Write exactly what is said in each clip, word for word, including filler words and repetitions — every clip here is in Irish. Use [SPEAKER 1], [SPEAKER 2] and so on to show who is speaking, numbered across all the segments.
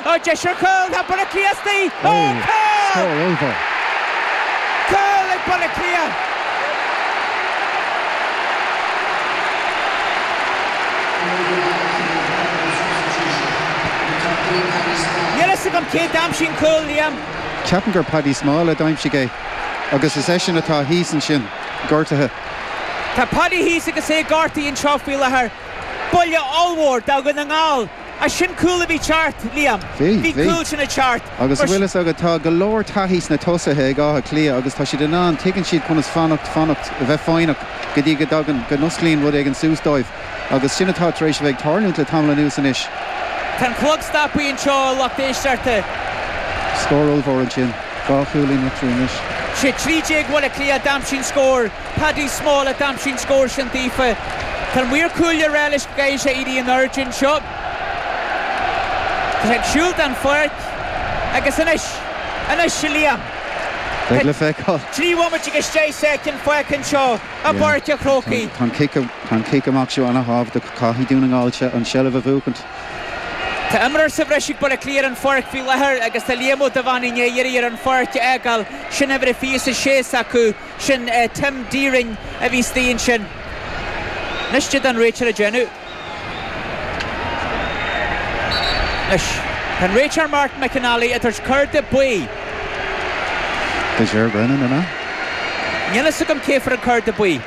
[SPEAKER 1] Ó, deis ar chúl, tá Baile Átha Cliath istigh! Ó, cúl!
[SPEAKER 2] Scór ollmhór.
[SPEAKER 1] Cúl ag Baile Átha Cliath! Níl fhios agam cé d'aimsigh an cúl, Liam.
[SPEAKER 2] Ceapaim gur Paddy Small a d'aimsigh é agus is eisean atá thíos ansin, gortaithe.
[SPEAKER 1] Tá Paddy thíos agus é gortaithe anseo faoi láthair. Buille ollmhór do Dhún na nGall. Ach sin cúl a bhí ceart, Liam.
[SPEAKER 2] Bhí,
[SPEAKER 1] Bhí
[SPEAKER 2] bhí.
[SPEAKER 1] cúl sin ag teacht.
[SPEAKER 2] Agus
[SPEAKER 1] Mar
[SPEAKER 2] bhfuil fhios agat, tá go leor taithí sna tosaithe ag Áth Cliath agus tá siad in ann, tuigeann siad conas fanacht, fanacht, a bheith foighneach go dtí go dtagann, go n-osclaíonn rud éigin suas dóibh. Agus sin atá tar éis a bheith ag tarlúint le tamall anuas anois.
[SPEAKER 1] Tá an clog stoptha anseo, a lucht éisteachta.
[SPEAKER 2] Scór ollmhór ansin. Dhá chúilín eatarthu anois.
[SPEAKER 1] Sé trí déag Bhaile Átha Cliath a d'aimsigh an scór. Paddy Small a d'aimsigh an scór sin daofa. Tá an maor cúil ag rá leis go gcaithfidh sé éirí in airde anseo. Tá sé ag siúl den pháirc agus anois, anois, a Liam.
[SPEAKER 2] Beidh le feiceáil.
[SPEAKER 1] Trí bhomaite agus deich soicind fágtha anseo i bPáirc an Chrócaigh.
[SPEAKER 2] Tá an cic, tá an cic amach seo ana-thábhachtach. Caithfidh Dún na nGall an seilbh a bhuachaint.
[SPEAKER 1] Tá imreoir sa bhreis ag Baile Átha Cliath ar an pháirc faoi láthair agus tá Liam Ó Dubháin i ndiaidh éirí ar an pháirc a fhágáil. Sin uimhir a fiche is a sé s'acu, sin Tim Deering a bhí istigh ansin. Anois cad tá an réiteoir ag déanamh. Anois, tá an réiteoir Martin McAnally ag tabhairt cárta buí.
[SPEAKER 2] Do Ger Brennan, an ea?
[SPEAKER 1] Níl fhios agam cé fuair an cárta buí.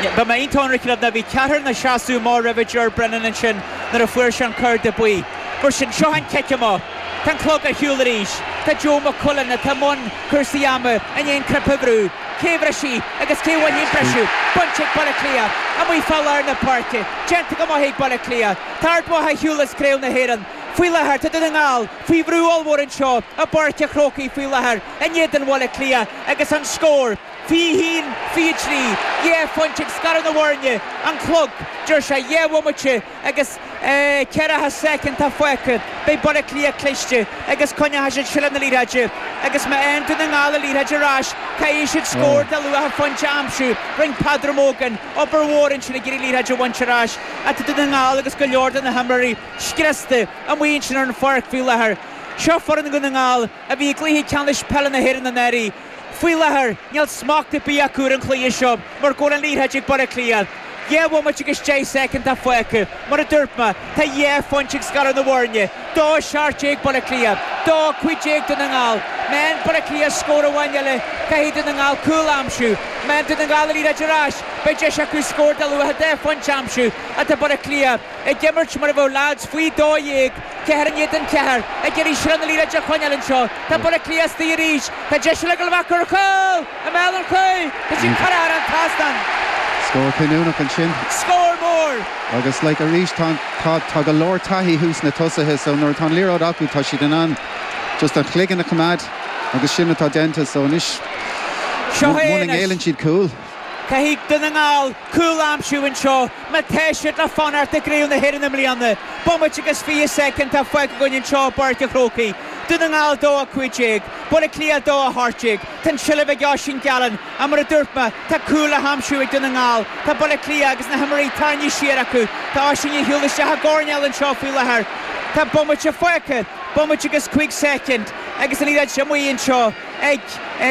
[SPEAKER 1] Beidh mé iontach ionraic libh ná bhí ceathrar ina seasamh amach roimhe Ger Brennan ansin nuair a fuair sé an cárta buí. Mar sin, seo an cic amach. Tá an clog ar shiúl arís. Tá Joe Mac Cuilinn, atá i mbun cúrsaí ama, i ndiaidh an cnaipe a bhrú. Cé a bhrisfidh agus cé a bhainfidh an briseadh? Bainte ag Baile Átha Cliath, amuigh fá lár na páirce. Déanta go maith ag Baile Átha Cliath. Tá Ard Mhacha ar shiúl as Craobh na hÉireann faoi láthair. Tá Dún na nGall faoi bhrú ollmhór anseo i bPáirc an Chrócaigh faoi láthair in éadan Bhaile Átha Cliath agus an scór, fiche a haon, fiche a trí, dhá phointe ag scaradh na bhfoirne, an clog, deir sé, dhá bhomaite agus ceathracha soicind atá fágtha. Beidh Baile Átha Cliath cliste agus coinneoidh siad seilbh na liathróide agus má fhaigheann Dún na nGall an liathróid ar ais, caithfidh siad scór de luach phointe a aimsiú. Rinne Peadar Mogan obair mhór ansin ag iarraidh liathróid a bhaint ar ais ach tá Dún na nGall agus go leor de na himreoirí scriosta amuigh ansin ar an pháirc faoi láthair. Seo foireann Dhún na nGall a bhí i gcluiche ceannais peile na hÉireann anuraidh. Faoi láthair, níl smacht ar bith acu ar an chluiche seo mar go bhfuil an liathróid ag Baile Átha Cliath. Dhá bhomaite agus deich soicind atá fágtha. Mar a dúirt mé, tá dhá phointe ag scaradh na bhfoirne. Dó seacht déag Baile Átha Cliath, dó cúig déag Dún na nGall. Má fhaigheann Baile Átha Cliath scór amháin eile, caithfidh Dún na nGall cúl a aimsiú. Má fhaigheann Dún na Gall an liathróid ar ais, beidh deis acu scór de luach dhá phointe a aimsiú. Ach tá Baile Átha Cliath ag imirt mar a bheadh leaids faoi dó dhéag, ceathair in éadan ceathair, ag iarraidh seilbh na liathróide a choinneáil anseo. Tá Baile Átha Cliath istigh arís. Tá deis eile ag dul amach ar chúl! I mbéal an chúil! Tá sí curtha thar an trasnán!
[SPEAKER 2] Scór cinniúnach ansin.
[SPEAKER 1] Scór mór!
[SPEAKER 2] Agus like arís tá tá tá go leor taithí thuas sna tosaithe so nuair atá an liathróid acu tá siad in ann just an chloigeann a choimeád agus sin atá déanta so anois
[SPEAKER 1] Seo é
[SPEAKER 2] muna
[SPEAKER 1] anois.
[SPEAKER 2] ngéilleann siad cúl.
[SPEAKER 1] Caithfidh Dún na nGall cúl a aimsiú anseo má tá siad le fanacht i gCraobh na hÉireann i mbliana. Bomaite agus fiche soicind atá fágtha againn anseo i bPáirc an Chrócaigh. Dún na nGall dó a cúig déag, Baile Átha Cliath dó a hocht déag. Tá an tseilbh ag Oisín Gallen ach mar a dúirt mé, tá cúl le haimsiú ag Dún na nGall. Tá Baile Átha Cliath agus na himreoirí tarraingthe siar acu. Tá Oisín ag siúl isteach i gcoirnéal anseo faoi láthair. Tá bomaite fágtha, bomaite agus cúig soicind, agus an liathróid amuigh anseo ag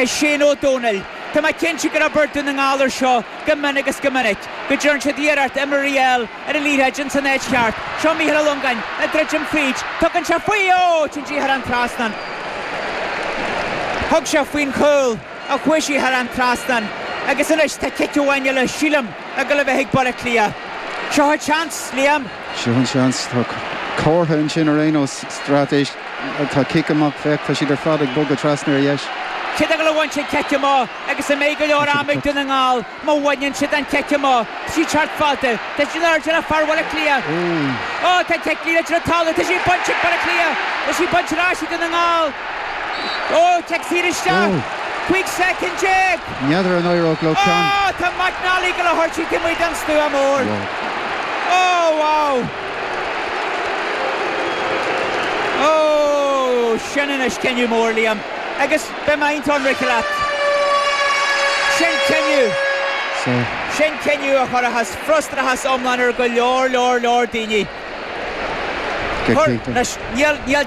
[SPEAKER 1] Shane Ó Dónaill. Tá mé cinnte gur obair Dún na nGall ar seo go mion agus go minic, go dtearn siad iarracht imreoirí a fháil ar an liathróid ins an áit cheart. Seo Mícheál Ó Longáin ag druidim fríd. Tugann sé faoi! Ó! Téann sí thar an trasnán. Thug sé faoin chúl ach chuaigh sí thar an trasnán agus anois tá cic amháin eile, sílim, ag dul a bheith ag Baile Átha Cliath. Seo an seans, Liam.
[SPEAKER 2] Seo an seans. Tá comhartha ansin ar aon nós, straitéis. Tá cic amach, féach, tá siad ar fad ag bogadh trasna ar dheis.
[SPEAKER 1] Cé atá ag dul a bhaint an cic amach agus an mbeidh go leor ama ag Dún na nGall má bhaineann siad an cic amach? Tá sí ag teacht fada. Tá sí in airde le fear Bhaile Átha Cliath. Ó, tá an cic liathróid ar an talamh. Tá sí bainte ag Baile Átha Cliath. Tá sí bainte ar ais ag Dún na nGall. Ó, cic saor isteach. Cúig soicind déag.
[SPEAKER 2] N'fheadar an éireodh leo ceann.
[SPEAKER 1] Ó, tá McNally ag dul a thabhairt í taobh amuigh den stua mór. Ó, wow. Ó, sin anois cinneadh mór, Liam. Agus beidh mé iontach ionraic leat. Sin cinneadh. Sin cinneadh a chuirfeas frustrachas iomlán ar go leor, leor, leor daoine. Anois, níl, níl.